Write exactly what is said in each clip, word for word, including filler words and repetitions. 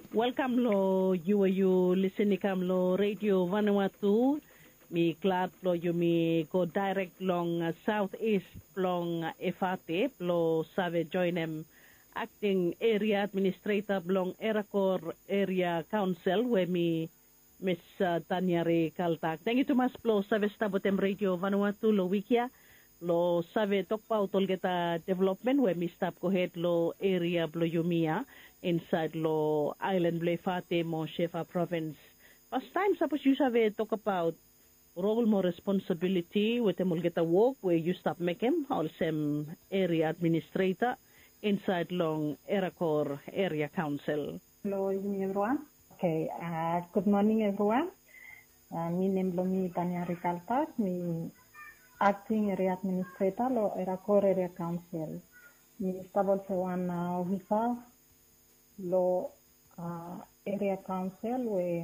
Welkam long yu we yu lisin i kam long Redio Vanuatu. Mi glad blong yumi go daerek long saot ist blong Efate blong save joenem akting eria administreta blong Erakor Eria Kaonsel we mi Mis Taniari Kaltak. Tangkiu tumas blong save stap wetem Redio Vanuatu long wik ya blong save tokbaot olgeta developmen we mi stap gohed long eria blong yumi ya insaed long aelan blong Efate mo Shefa provins. Pastaem sapos yu save tokbaot rol mo responsabiliti wetem olgeta wok we yu stap mekem olsem eria administreta insaed long Erakor Eria Kaonsel. Hello, evening everyone. Okay, uh, good morning everyone. Uh, mi nem blong mi Tania Rikaltak, mi acting area administrator lo Erakor Area Council. Mi stap olsem wan uh, officer lo uh, area council we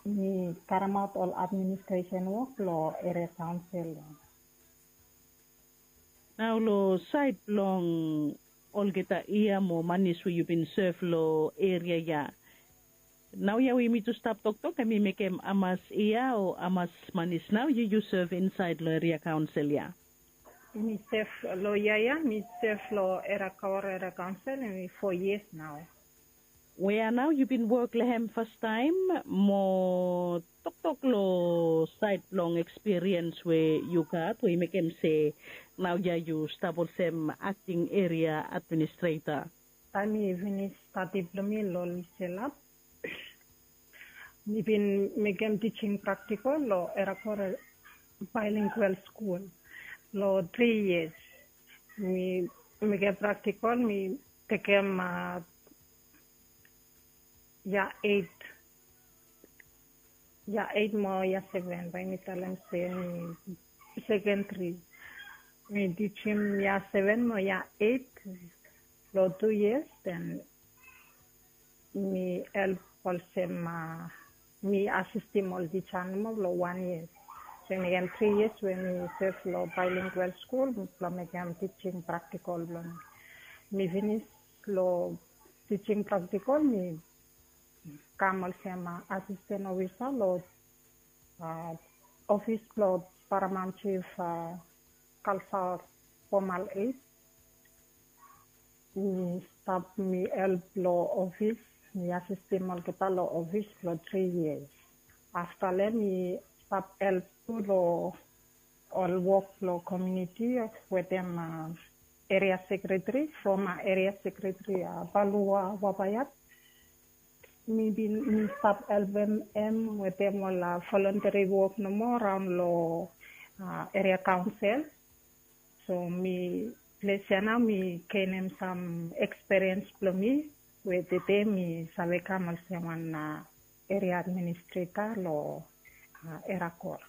mi karemaot ol administration work lo area council. Nao long saed blong olgeta yia mo manis we yu bin sev long eria ya. Nao ya we yumi tu stap toktok, em i mekem hamas yia o hamas manis nao yu yu sev insaed long eria kaonsel ya? Mi sev long yia ya, mi sev long Erakor Eria Kaonsel, em i fo yias nao. Wea nao yu bin wok long hem fastaem mo toktok long saed blong ekspiriens we yu gat we i mekem se nao ya yu stap olsem akting eria administreta? Taem mi finis stadi blong mi long Liselap, mi bin mekem teaching praktikol long Erakor Bilingual Skul long tri yias. Mi mekem praktikol, mi tekem uh, yia eit, yia eit mo yia seven, bae mi talem se mi sekendri. Mi tijim yia seven mo yia eit long tu yias, den mi help olsem uh, mi asistim ol tija nomo long wan yia. So mi gat tri yias we mi sev long Bilingual Skul blong mekem tijing praktikol blong mi. Mi finis long tijing praktikol, mi kam olsem uh, asisten ofisa long uh, ofis blong paramount chief uh, kalsar fomal eit. Mi stap mi help long ofis, mi asistim olgeta long ofis blong tri yias. Afta long hem mi stap help tu long ol wok blong komuniti wetem uh, eria sekretari, foma eria sekretari uh, Balua Wapayat. Mi bin mi stap helpem hem wetem ol uh, voluntary work nomo raon long uh, eria kaonsel. So mi ples ya nao mi genem sam ekspiriens blong mi we tede mi save kam olsem wan uh, eria administreta long uh, Erakor.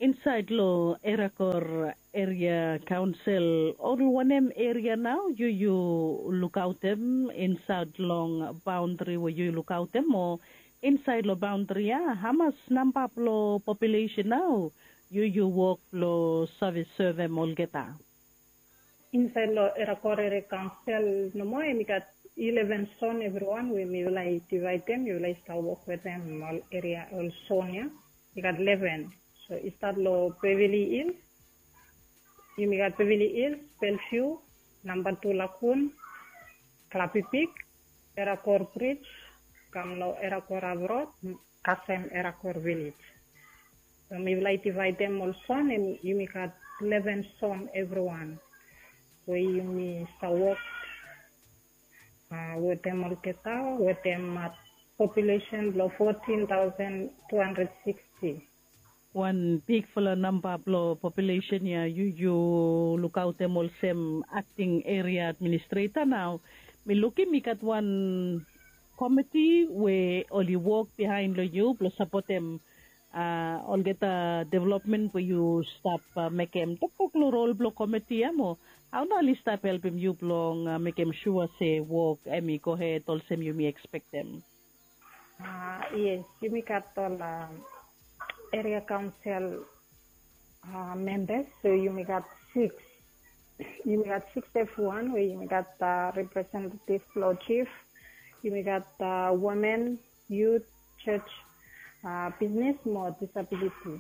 Insaed long Erakor Eria Kaonsel, ol wanem eria nao yu yu lukaotem insaed long baondri we yu lukaotem, o insaed long baondri ya hamas namba blong populesen nao yu yu wok blong save sevem olgeta? Insaed long Erakor Eria Kaonsel nomo, hem i gat ileven son evriwan we mifala i divaedem, mifala i stap wok wetem ol eria, ol son ya. I gat ileven. So i stat long Beverly Hills. Yumi gat Beverly Hills, Bellevue, Namba Tu Lagoon, Klapipik, Erakor Bridge, kam long Erakor Avrod, kasem Erakor Village. So mifala i divaedem ol son, hem yumi gat ileven son evriwan we yumi stap wok uh, wetem olgeta wetem uh, populesen blong fotin taosen tu handred siksti. Wan bigfala namba blong populesen ya yu yu lukaotem olsem akting eria administreta. Nao mi lukim i gat wan komiti we oli wok bihaen long yu blong sapotem uh, olgeta developmen we yu stap uh, mekem. Toktok long rol blong komiti ya mo, hao nao oli stap helpem yu blong uh, mekem sua se wok hem i gohed olsem yumi ekspektem? Uh, yes, yumi gat ol uh, eria kaonsel uh, membas, so yumi gat siks. Yumi gat siks evriwan we yumi gat uh, representativ blong jif, Yumi gat women, yut, church, bisnis mo disabiliti.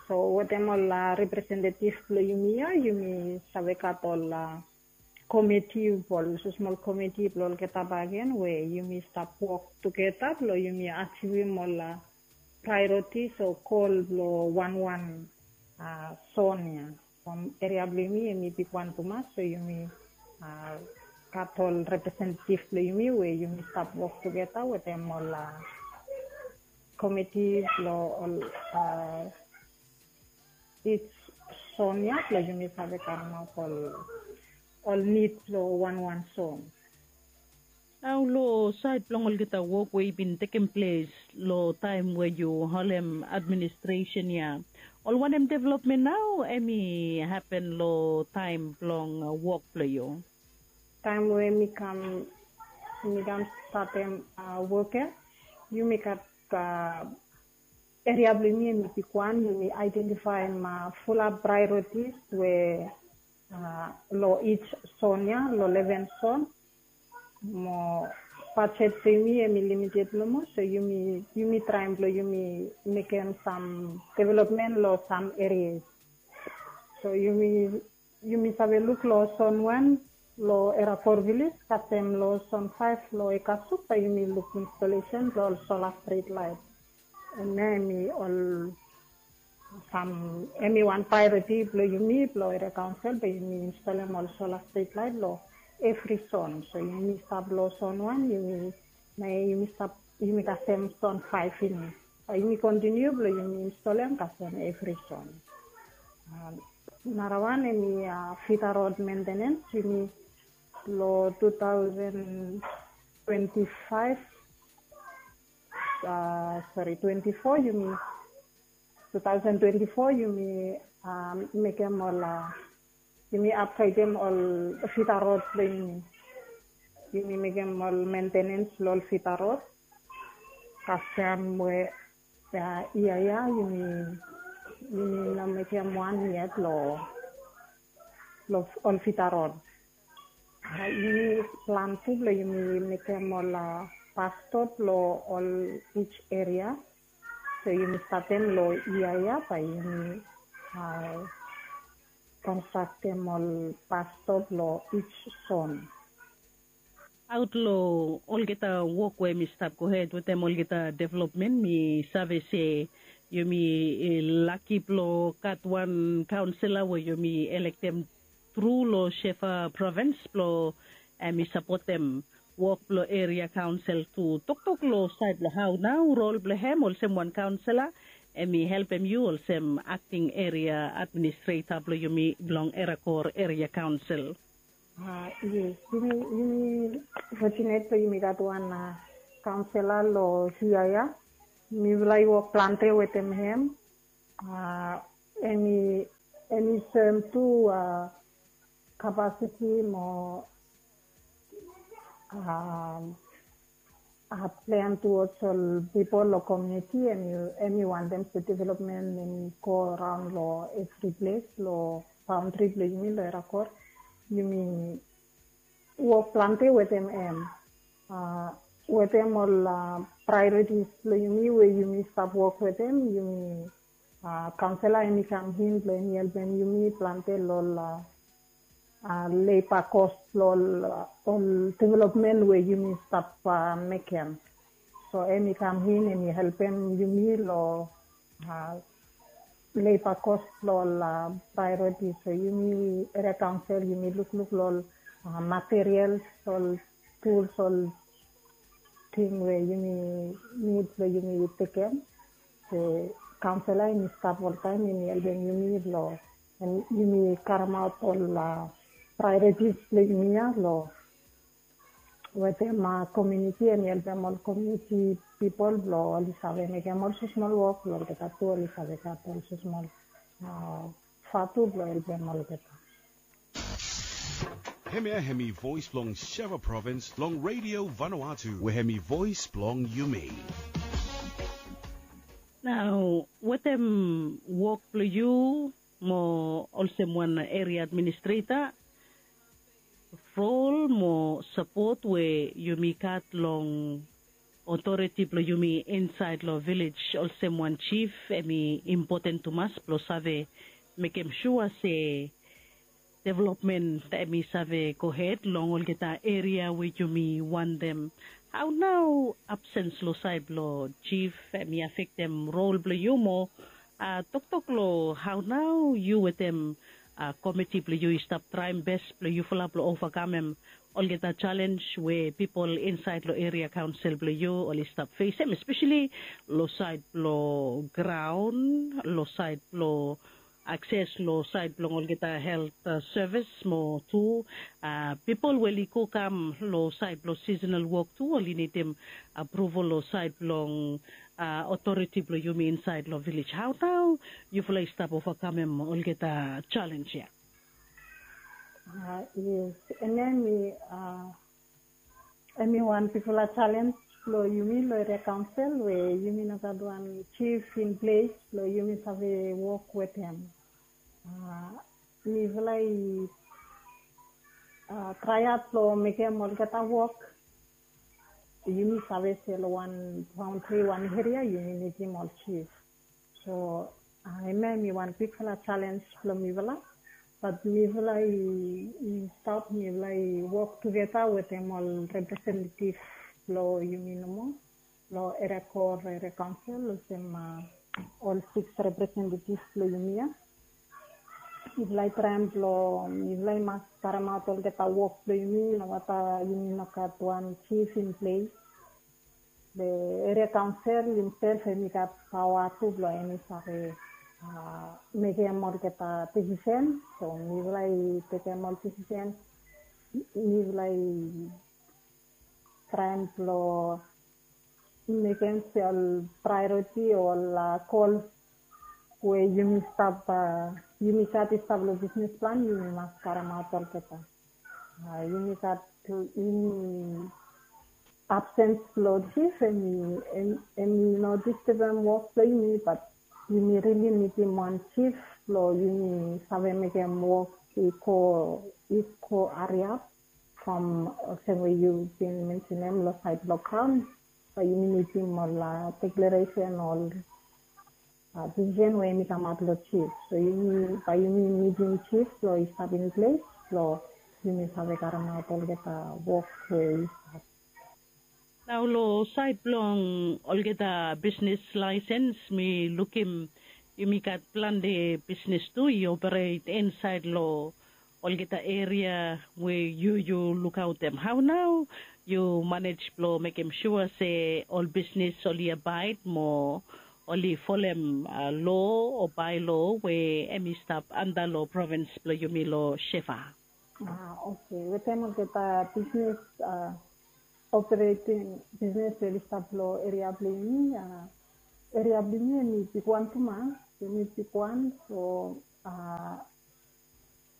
So wetem ol representetiv blong yumi ya, yumi save gat ol komiti, ol smosmol komiti blong olgeta bakegen we yumi stap wok tugeta blong yumi ajivim ol praeoriti o gol blong wanwan son ya. From eria blong yumi, yumi bigwan tumas, so yumi gat ol representetiv blong yumi we yumi stap wok tugeta wetem ol komiti blong ol ij son ya blong yumi save karemaot ol nid blong wanwan son. Nao long saed blong olgeta wok we i bin tekem ples long taem we yu holem administresen ya, ol wanem developmen nao em i hapen long taem blong wok blong yu? Taem we mi kam, mi kam statem wok ya, yumi gat eria blong yumi, yumi bigwan, yumi aedentifaem fulap praeoritis we long ij son ya, long leven son. Mo bajet blong yumi em i limited nomo, so yumi traem blong yumi mekem sam developmen long sam erias. So yumi yumi save luk long son wan long Erakor Viles, kasem long son faef long Ekasuk, bae yumi luk instolesen blong ol sola strit laet. Hemia hemi ol sam, hemi wan praeoriti blong yumi blong eria kaonsel, bae yumi instolem ol sola strit laet long evri son. So yumi stap long son wan, yumi naoia yumi stap, yumi kasem son faef ini. Bae yumi kontiniu blong yumi instolem kasem evri son. Narawan hemi fita rod mentenens, yumi long tu taosen twenti faef, sori, twenti fo, yumi tu taosen twenti fo yumi mekem ol, yumi apgraedem ol fita rod blong yumi. Yumi mekem ol mentenens long ol fita rod. Kasem we yia ya yumi, yumi no mekem wan yet long ol fita rod. Yumi plan tu blong yumi mekem ol bas stop long ol ij eria. So yumi statem long yia ya, bae yumi konstraktem ol bas stop long ij son. Aot long olgeta wok we mi stap gohed wetem olgeta developmen, mi save se yumi laki blong gat wan kaonsela we yumi elektem tru long Shefa provins blong hemi sapotem wok blong eria kaonsel tu. Toktok long saed blong hao nao rol blong hem olsem wan kaonsela hemi helpem yu olsem akting eria administreta blong yumi blong Erakor Eria Kaonsel. Yes, yumi, yumi fotinet blong yumi gat wan kaonsela long hia ya. Mifala i wok plante wetem hem. Hemi, hemi soem tu kapasiti mo plen tuwods ol pipol long komuniti, hemi wantem se developmen hemi go raon long evri ples long baondri blong yumi long Erakor. Yumi wok plante wetem hem. Wetem ol praeoritis blong yumi we yumi stap wok wetem, yumi kaonsela hemi kam in blong hemi helpem yumi plante long ol leba kos blong ol developmen we yumi stap mekem. So hemi kam in, hemi helpem yumi long leba kos blong ol praeoritis. So yumi eria kaonsel yumi lukluk long ol materials, ol tuls, ol ting we yumi nid blong yumi tekem. So kaonsela hemi stap oltaem, hemi helpem yumi blong yumi karemaot ol praeoritis blong yumi ya long wetem komuniti, hemi helpem ol komuniti pipol blong oli save mekem ol smosmol wok blong olgeta tu, oli save gat ol smosmol vatu blong helpem olgeta. Hemia hemi voes blong Sheva provins long Redio Vanuatu, we hemi voes blong yumi. Nao wetem wok blong yu mo olsem wan eria administreta, rol mo sapot we yumi gat long otoriti blong yumi insaed long vilej olsem wan jif, em i impoten tumas blong save mekem sua se developmen em i save gohed long olgeta eria we yumi wantem. Hao nao absens long saed blong jif em i afektem rol blong yu mo toktok long hao nao yu wetem komiti blong yu i stap traem bes blong yufala blong ovakamem olgeta jalenj we pipol insaed long eria kaonsel blong yu oli stap fesem, espeseli long saed blong graon, long saed blong akses long saed blong olgeta helt sevis mo tu pipol we oli go kam long saed blong sisonal wok tu oli nidim apruval long saed blong otoriti blong yumi insaed long vilej. Hao nao yufala i stap ovakamem olgeta jalenj ya? Yes, em ya em i em i wan bigfala jalenj long yumi long eria kaonsel we yumi no gat wan jif in ples blong yumi save wok wetem. Mifala i traeaot blong mekem olgeta wok. Yumi save se long wan baontri wan eria yumi nidim ol jif. So hemia em i wan bigfala jalenj blong mifala. Bat mifala i stap mifala i wok tugeta wetem ol representetiv blong yumi nomo long eria kor eria kaonsel olsem ol siks representetiv blong yumi ya. Mifala i traem blong mifala i mas karemaot olgeta wok blong yumi no mata yumi no gat wan jif in ples. Be eria kaonsel himsel em i gat paoa tu blong em i save mekem olgeta desisen. So mifala i tekem ol desisen. Mifala i traem blong mekem se ol praeoriti o ol gols we yumi stap yumi gat i stap long bisnis plan yumi mas karemaot olgeta. Yumi gat yumi absens blong jif em i em i no distebem wok blong yumi bat yumi rili nidim wan jif blong yumi save mekem wok i go i go hariap. From olsem we yu bin mensenem long saed blong graon bae yumi nidim ol deklaresen ol desisen we em i kamaot long jif. So yumi bae yumi nidim jif blong i stap in ples blong yumi save karemaot olgeta wok we i stap. Nao long saed blong olgeta bisnis laesens mi lukim yumi gat plante bisnis tu i operet insaed long olgeta eria we yu yu lukaotem. Hao nao yu manej blong mekem sua se ol bisnis oli abaed mo oli folem lo o baelo we em i stap anta long provins blong yumi long shefa? Oke, wetem olgeta bisnis opereting bisnis we oli stap long eria blong yumi. Eria blong yumi em i bigwan tumas, em i bigwan. So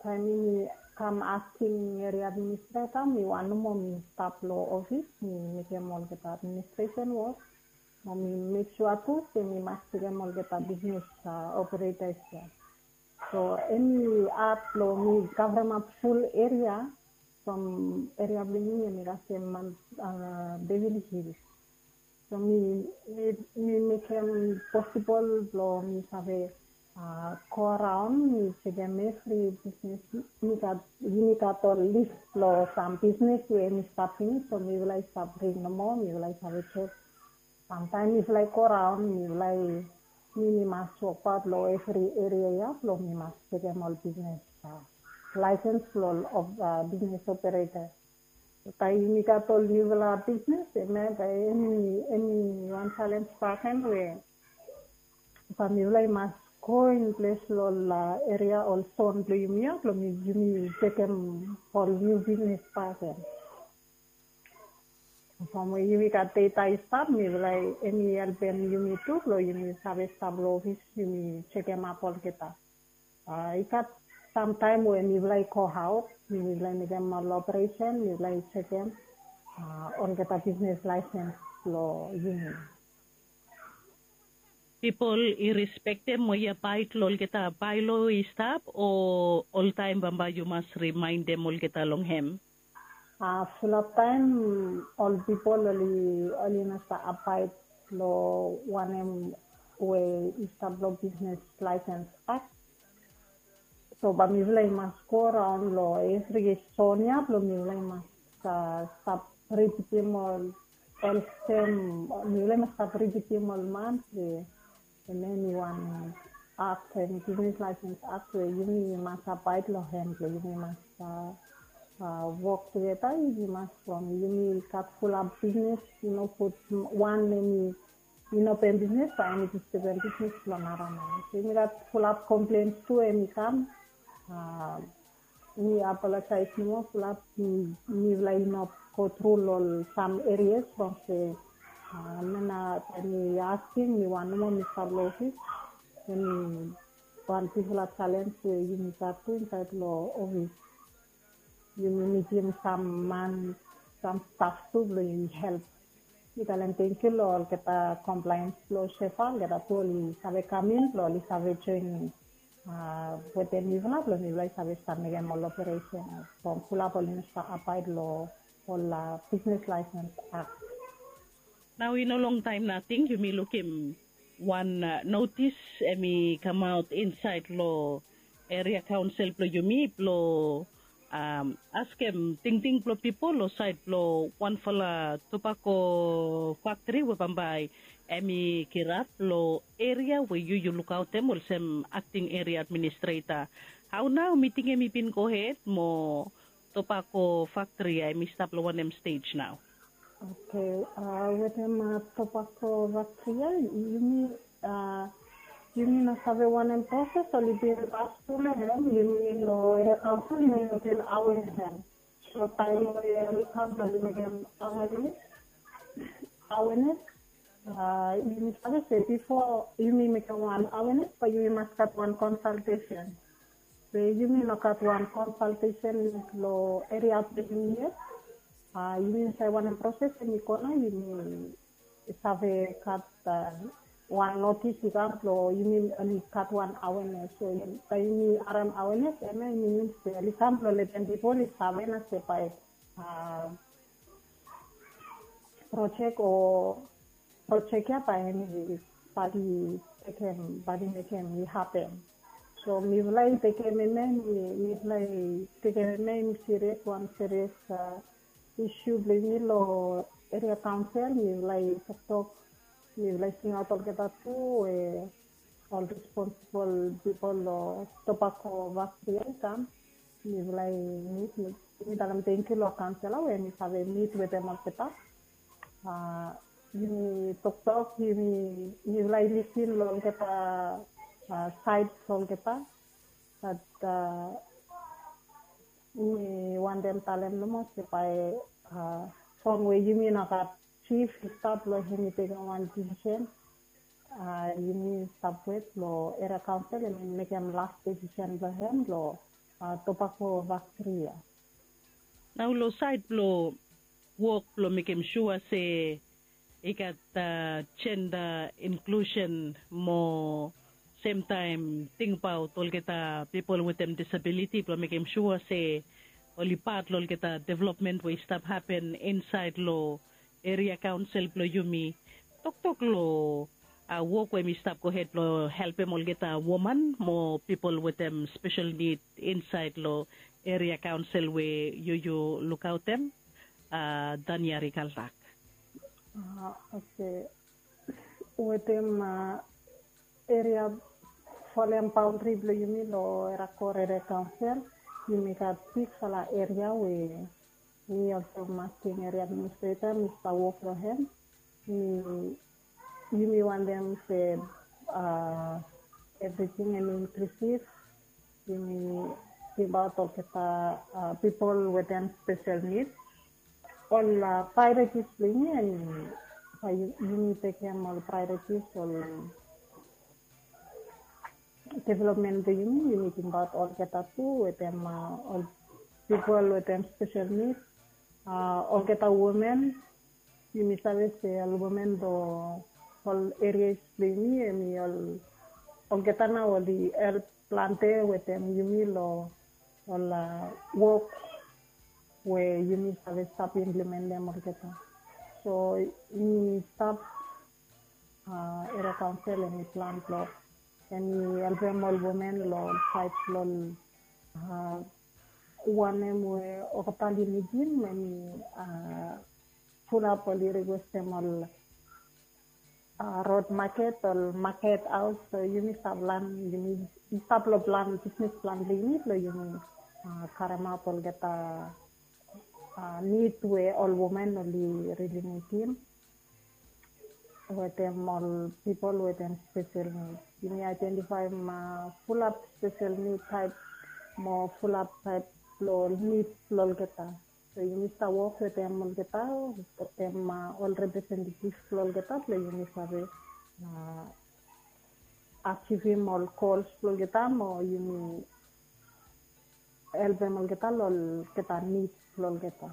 taem yumi kam asking eria administreta mi wan nomo mi stap long ofis mi mekem olgeta administresen wok. Mo mi mek sua tu se mi mas tekem olgeta bisnis operetas ya. So em i at blong mi kavremap ful eria from eria blong yumi em i kasem man devil hil. So mi mi mi mekem posibol blong mi save go araon mi sekem evri bisnis. Mi gat yumi gat ol lis blong sam bisnis we em i stap pinis so mifala i stap ring nomo mifala i save sek. Samtaem mifala i go raon mifala i mi mi mas wokbaot long evri eria ya blong mi mas sekem ol bisnis laesens blong ol bisnis opereta. Bae yumi gat ol niufala bisnis em ya bae eni eni wan salens paken we bae mifala i mas go in ples long ol eria ol son blong yumi ya blong yumi sekem ol niu bisnis paken. From we yumi gat data i stap mifala em i helpem yumi tu blong yumi save stap long ofis yumi sekemap olgeta. I gat samtaem we mifala i go aot mifala i mekem ol operesen mifala i sekem olgeta bisnis laesens blong yumi. Pipol i respektem o i abaed long olgeta baelo i stap o oltaem bambae yu mas rimaendem olgeta long hem? Fulap taem ol pipol oli oli no stap abaed long wanem we i stap long Business License Act. So bae mifala i mas go raon long evri zon ya blong mifala i mas stap ripitim ol olsem, mifala i mas stap ripitim ol man we hemia hemi wan akt, hemi Business License Act we yumi mas abaed long hem blong yumi mas wok tugeta, yumi mas from yumi gat fulap bisnis, i no gud wan hemi i no open bisnis bae hemi distaben bisnis blong nara man. So yumi gat fulap komplens tu hemi kam. Mi apolojaes nomo, fulap mifala i no go tru long sam erias from se, hemia nao taem mi asking, mi wan nomo mi stap long ofis. Hemi wan bigfala jalens we yumi gat tu insaed long ofis. Yumi mitim sam man, sam staf tu blong yumi help. Mi talem tangkiu long olgeta compliance blong SEFA, olgeta tu oli save kam in blong oli save joen wetem mifala blong mifala i save stap mekem ol operesen from fulap oli no stap abaed long ol Business License Act. Nao i no longtaem nating yumi lukim wan notis hemi kamaot insaed long eria kaonsel blong yumi blong askem tingting blong pipol long saed blong wanfala tobako faktri we bambae hemi kirap long eria we yu yu lukaotem olsem akting eria administreta. Hao nao miting hemi bin gohed mo tobako faktri ya hemi stap long wanem stej nao? Oke, wetem tobako faktri ya yumi yumi no save wanem proses oli bin pas tu long hem. Yumi long eria kaonsel yumi no bin awenes hem. So taem we oli kam blong oli mekem awenes, awenes, yumi save se bifo yumi mekem wan awenes bae yumi mas gat wan konsaltesen. Be yumi no gat wan konsaltesen long eria blong yumi yet. Yumi no save wanem proses hemi go nao, yumi save gat wan notis i kam blong yumi oli gat wan awenes. So taem yumi harem awenes, hemia i minim se oli kam blong letem pipol i save nao se bae projek o projek ya bae hemi badi tekem, badi mekem i hapen. So mifala i tekem hemia, mifala i tekem hemia i serias, wan serias isu blong yumi long eria kaonsel. Mifala i toktok, mifala i singaot olgeta tu we ol responsibol pipol long tobako faktri ya i kam. Mifala i mit, mi talem tangkiu long kaonsela we mi save mit wetem olgeta. Yumi toktok, yumi, mifala i lisin long olgeta saed blong olgeta. Bat mi wantem talem nomo se bae from we yumi no gat jif i stap long hemi tekem wan desisen. Yumi stap wet long eria kaonsel hemi mekem las desisen blong hem long tobako faktri ya. Nao long saed blong wok blong mekem sua se i gat jenda inklusen mo semtaem tingbaot olgeta pipol wetem disabiliti blong mekem sua se oli pat long olgeta developmen we i stap hapen insaed long eria kaonsel blong yumi. Toktok long wok we hemi stap gohed blong helpem olgeta woman mo pipol wetem spesel nid insaed long eria kaonsel we yu yu lukaotem, Daniari Kaldak. Oke. Wetem eria folem baondri blong yumi long eria kor eria kaonsel, yumi gat bigfala eria we mi olsem akting eria administreta mi stap wok long hem. Mi yumi wantem se evriting hemi inklusiv. Yumi tingbaot olgeta pipol wetem spesel nid. Ol praeoritis blong yumi hemi bae yumi tekem ol praeoritis, ol developmen blong yumi, yumi tingbaot olgeta tu wetem ol pipol wetem spesel nid. Olgeta women, yumi save se ol women long ol erias blong yumi hemi ol, olgeta nao oli help plante wetem yumi long ol wok we yumi save stap implementem olgeta. So mi stap, a, eria kaonsel, hemi plan blong hemi helpem ol women long ol saed blong ol, a, wanem we olgeta oli nidim, hemi, a, fulap oli rikwestem ol, a, rod maket, ol maket haos. So yumi stap plan, yumi stap long plan, bisnis plan blong yumi, blong yumi, a, karemaot olgeta, a, nid we ol women oli rili nidim wetem ol pipol wetem spesel nid. Yumi aedentifaem, a, fulap spesel nid taep mo fulap taep blong nid blong olgeta. So yumi stap wok wetem olgeta, wetem, a, ol representativ blong olgeta, blong yumi save, a, ajivim ol gols blong olgeta mo yumi helpem olgeta long olgeta nid blong olgeta.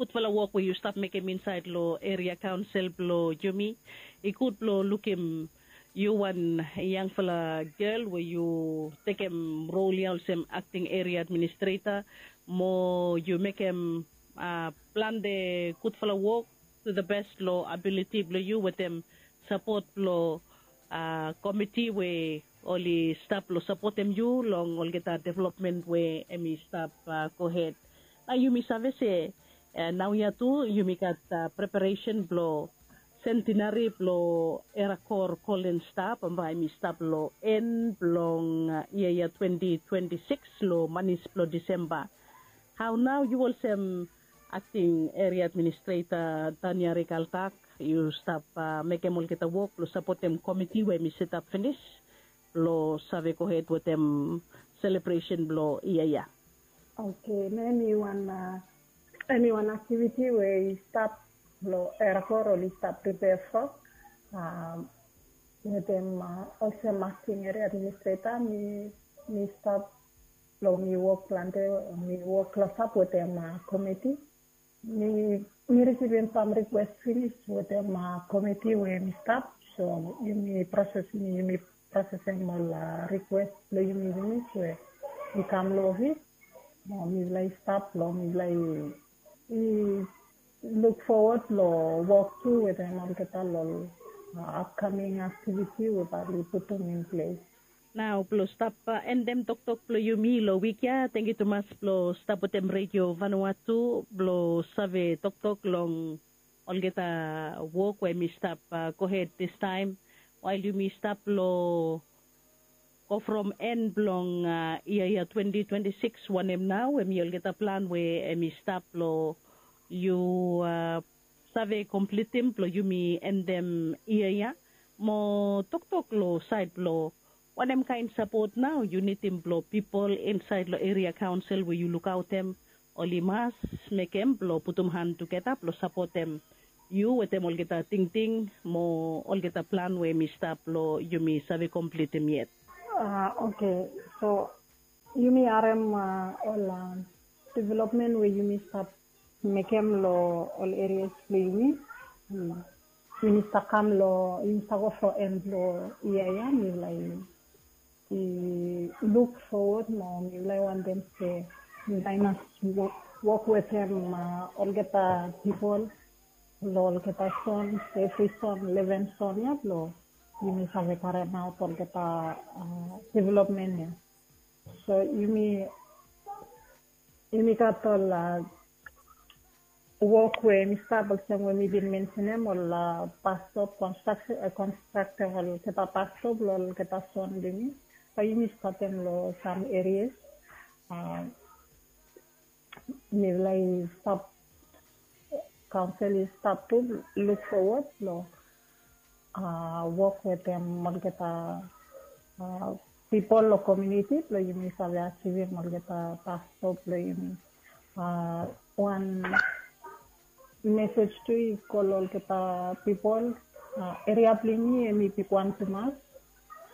Gudfala wok we yu stap mekem insaed long eria kaonsel blong yumi. I gud blong lukim yu wan yangfala gel we yu tekem rol ya olsem akting eria administreta, mo yu mekem, a, plante gudfala wok to the best long abiliti blong yu wetem sapot blong, a, komiti we oli stap long sapotem yu long olgeta developmen we hemi stap, a, gohed. Nao yumi save se, a, naoia tu yumi gat, a, preparesen blong sentenari blong Erakor Golden Star, bambae hemi stap long en blong, a, yia ya twenti twenti sikis long manis blong Disemba. Hao nao yu olsem akting eria administreta Tania Rikaltak, yu stap, a, mekem olgeta wok blong sapotem komiti we hemi setap finis blong save gohed wetem selebresen blong yia ya? Oke, nao hemi wan, a, hemi wan aktiviti we i stap long Erakor, oli stap pripea from, a, wetem, a, olsem akting eria administreta, mi, mi stap long mi wok plante, mi wok klosap wetem, a, komiti. Mi, mi risivim sam rikwes finis wetem, a, komiti we mi stap. So yumi proses, yumi prosesem ol, a, rikwes blong yumi finis we i kam long ofis. Mo mifala i stap long, mifala i, i luk fowod long wok tu wetem olgeta long, a, apkaming aktiviti we bae oli putum in ples. Nao blong stap, a, endem toktok blong yumi long wik ya, tangkiu tumas blong stap wetem Redio Vanuatu blong save toktok long olgeta wok we hemi stap, a, gohed distaem. Wael yumi stap long go from en blong, a, yia ya twenti twenti sikis, wanem nao hemi olgeta plan we hemi stap long yu, a, save komplitim blong yumi endem yia ya? Mo toktok long saed blong wanem kaen sapot nao yu nidim blong pipol insaed long eria kaonsel we yu lukaotem oli mas mekem blong putum han tugeta blong sapotem yu wetem olgeta tingting mo olgeta plan we hemi stap blong yumi save komplitim yet? A, oke. So yumi harem, a, ol, a, developmen we yumi stap mekem long ol erias blong yumi. Hmm. Yumi stap kam long, yumi stap go from en blong yia ya, mifala i, i luk fowod mo mifala i wantem se mifala i mas wok, wok wetem, a, olgeta pipol long olgeta zon, evri zon, leven zon ya blong yumi save karemaot olgeta, a, developmen ya. So yumi, yumi gat ol, a, wok we mi stap olsem we mi bin mensenem, ol, a, bus stop konstrak-, a, konstraktem olgeta bus stop long olgeta zon blong yumi. Bae yumi statem long sam erias. A, mifala i stap, kaonsel i stap tu luk fowod long, a, wok wetem olgeta, a, pipol long komuniti blong yumi save ajivim olgeta bus stop blong yumi. A, wan mesej tu i go long olgeta pipol, a, eria blong yumi hemi bigwan tumas.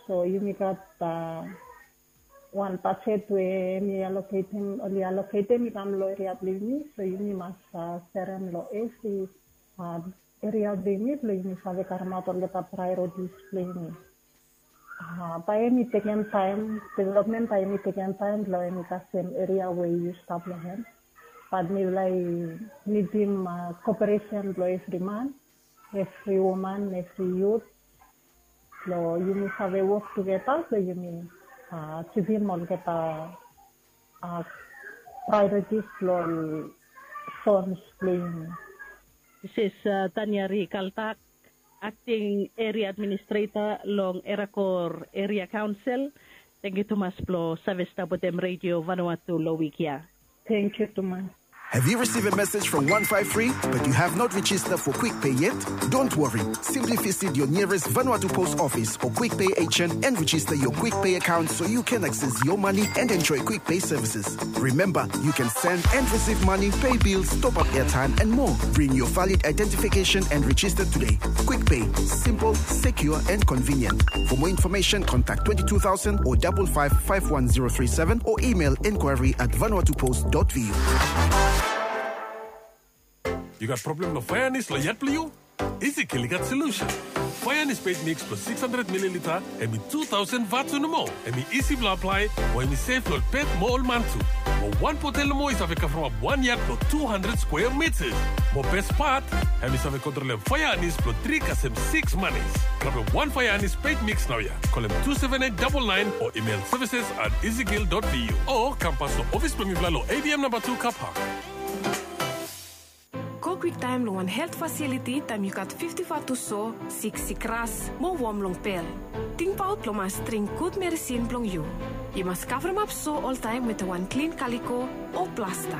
So yumi gat, a, wan bajet we hemi aloketem, oli aloketem i kam long eria blong yumi. So yumi mas, a, serem long evri, a, eria blong yumi blong yumi save karemaot olgeta praeoritis blong yumi. A, bae hemi tekem taem, developmen bae hemi tekem taem blong hemi kasem eria we yu stap long hem. Bat mifala i nidim koperesen blong evri man, evri woman, evri yut, blong yumi save wok tugeta blong yumi kitim olgeta praeoritis blong ol sons blong yumi. Disis Tania Ri Kaltak, akting eria administreta long Erakor Eria Kaonsel. Tangkiu tumas blong save stap wetem Redio Vanuatu long wik ya. Tangkiu tumas. Have you received a message from one five three, but you have not registered for Quick Pay yet? Don't worry. Simply visit your nearest Vanuatu Post Office or Quick Pay agent and register your Quick Pay account so you can access your money and enjoy Quick Pay services. Remember, you can send and receive money, pay bills, top up airtime, and more. Bring your valid identification and register today. Quick Pay, simple, secure, and convenient. For more information, contact twenty-two thousand or double five five one zero three seven or email inquiry at vanuatupost dot V U. Yu gat problem long faea anis long yat blong yu? Easy Kill i gat solution. Faea anis peit mix blong six hundred mililita, hemi two thousand vatu nomo. Hemi isi blong aplae, mo hemi sef long ol pet mo ol man tu. Mo wan botel nomo i save kavremap wan yat blong two hundred square meters. Mo bes pat, hemi save kontrolem faea anis blong tri kasem six manis. Grabem wan faea anis peit mix naoia. Kolem two seven eight double nine o email services at easykill dot V U. O kam pas long ofis blong mifala long A B M namba tu car park. Go kwiktaem long wan helt fasiliti taem yu gat fifti vatu so, siksik ras, mo wom long pel. Tingbaot blong mas dring gud medisin blong yu. Yu mas kavremap so oltaem wetem wan klin kaliko o plasta.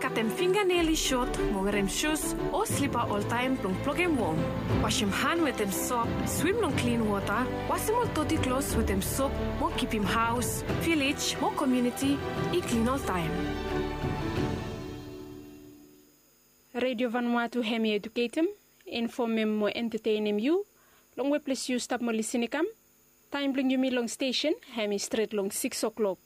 Katem finganel i sot mo werem sus o slipa oltaem blong blokem wom. Wasem han wetem sop, swim long klin wota, wasem ol doti klos wetem sop mo kipim haos, vilej mo komuniti i klin oltaem. Redio Vanuatu hemi eduketem, infomem mo entatenem yu long weples yu stap mo lisin i kam. Taem blong yumi long stesen hemi stret long sikis o'klok.